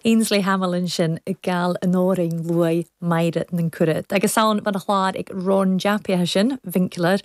Ainsley Hamill ansin ag gabhail an òrain luaith Màiri nan Cùrad. Agus ann ban a chlàr ag Ron Jappy atha sin, Winkler,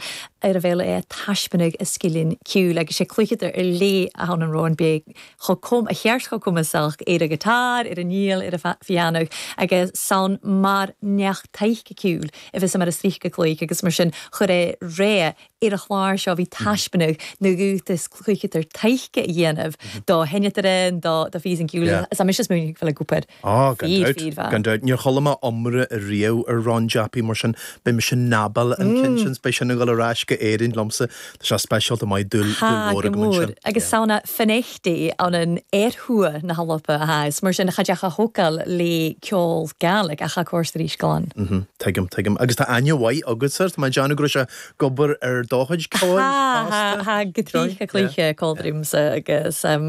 ar a bheul é a taisbeanadh a sgileann ceoil agus sé cluicheadar ar léith a thann an Ron beag chomh cum a cheart chomh cumasach ar a guitar, ar an fhídheal, ar a phianó agus ann mar neach taidhce ceoil a bheas mar a sroich go cloich agus mar sin chuir é ré Ar a chlár seo bhí taispeánadh na gcútas cluicheadar taighde a dhéanamh do sheinneadar do phíosa ceoil is mise is múineadh ag obair Á, gan dabht, gan dabht. Níor chuala mé iomrá riamh ar Ron Jappy mar sin beidh mise in ábalta an ceann sin, beidh sin ag dul ar ais go Éirinn liomsa. Tá sé speisialta maith, dúil, dúil mhór agam ansin. Agus samhna Finechdi ann an oirthear na hAlba atá is mar sin cha dteach a thógáil le ceol Gaelic ach a córas arís glan. Tuigim, tuigim. Agus tá aithne mhaith agatsa air, tá mé ag déanamh go raibh sé ag obair ar do chuid ceoil fosta. Tá, tá, go dtí cluiche ceolchoirmse agus tá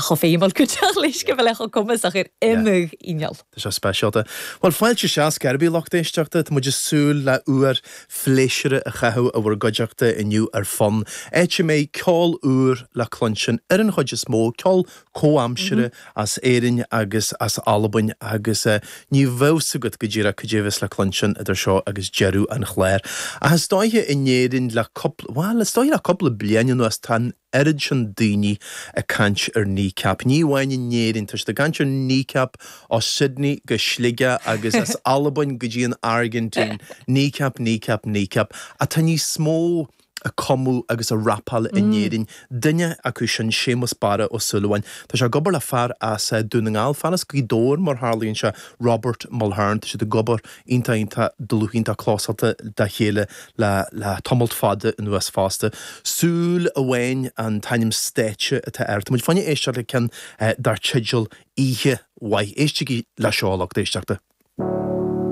chomh feidhmiúil go dteach leis go bhfuil chomh cumasach ar imeadh inneall. Tá sé speisialta. Bhuel, fáilte isteach scor ar bith lucht éisteachta, tá muid ag súil le uair phléisiúrtha a chaitheamh i bhur gcuideachta inniu ar Fonn, áit a mbeidh ceol úr le cluinstin ar an chuid is mó, ceol comhaimseartha as Éirinn agus as Albain agus ní bheadh 's agat go díreach cad é a bheas le cluinstin idir seo agus deireadh an chláir. Ach is dóiche in Éirinn le cúpla, bhuel, is dóiche le cúpla bliain anuas tá an oiread sin daoine ag caint ar Kneecap. Ní amháin in Éirinn, tá siad ag caint ar Kneecap ó Sydney go Sligeach agus as Albain go dtí an Airgintín. Kneecap, Kneecap, Kneecap. Ach tá níos mó ag cumadh agus ag rapáil in Éirinn. Duine acu sin, Séamus Barra Ó Súilleabháin. Tá sé ag obair le fear as Dún na nGall, fear as Gaoth Dobhair mar tharlaíonn sé, Robert Mulhern. Tá siad ag obair iontach iontach dlúth iontach clósáilte dá chéile le le tamalt fada anuas fosta. Súil Amháin an t-ainm stáitse atá air. Tá muid fá choinne éisteacht le ceann dar teideal Oíche Mhaith. Éistigí le seo, a lucht éisteachta.